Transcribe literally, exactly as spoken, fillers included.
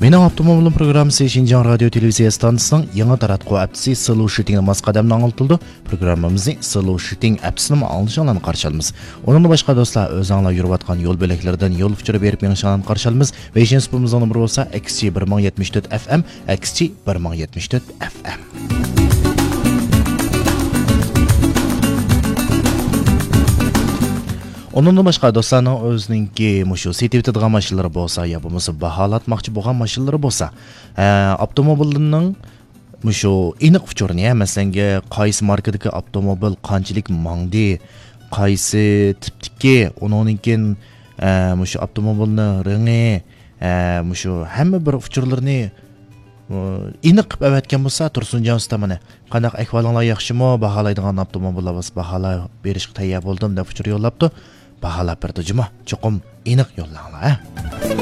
مېنىڭ ئاپتوموبىلىم پروگراممىسى شىنجاڭ رادىيو تېلېۋىزىيە ئىستانسىسىنىڭ يېڭى تاراتقۇ ھەپتىسى سلوشىتىڭ ماس قەدەمدە ئاڭلىتىلىدۇ. پروگراممىمىزنى سلوشىتىڭ ئەپسىنىمۇ ئاڭلىشىڭلارنى قارشى ئالىمىز. ئۇنىڭدىن باشقا دوستلار، ئۆزۈڭلار يۈرۈۋاتقان يول بۆلەكلىرىدىن يول ئۇچۇرى بېرىپ مېڭىشىڭلارنى قارشى ئالىمىز. ۋېيشىن سۇپىمىزنىڭ نومۇرى بولسا، ئەكس جى بىر مىڭ يەتمىش تۆت ئەف ئەم، ئەكس جى بىر مىڭ يەتمىش تۆت ئەف ئەم. ئۇنىڭدىن باشقا دوستلارنىڭ ئۆزىنىڭكى مۇشۇ سېتىۋېتىدىغان ماشىنىلىرى بولسا يا بولمىسا باھالاتماقچى بولغان ماشىنىلىرى بولسا، ئە، ئاپتوموبىلنىڭ مۇشۇ ئېنىق ئۇچۇرىنى، ھە، مەسىلەنگە، قايسى ماركىدىكى ئاپتوموبىل قانچىلىك ماڭدى، قايسى تىپتىكى، ئۇنىڭدىن كېيىن، ئە، مۇشۇ ئاپتوموبىلنىڭ رېڭى، ئە، مۇشۇ ھەممە بىر ئۇچۇرلىرىنى، ئۇ، ئېنىق قىلىپ ئەۋەتكەن بولسا، تۇرسۇنجان ئۇستا، مانا، «قانداق ئەھۋالىڭلار، ياخشىمۇ؟ باھالايدىغان ئاپتوموبىللار بولسا باھالاپ بېرىشقا تەييار بولدۇم» دەپ ئۇچۇر يوللاپتۇ. باھالاپ بېرىدۇ جۇمۇ. چوقۇم ئېنىق يوللاڭلار، ھە؟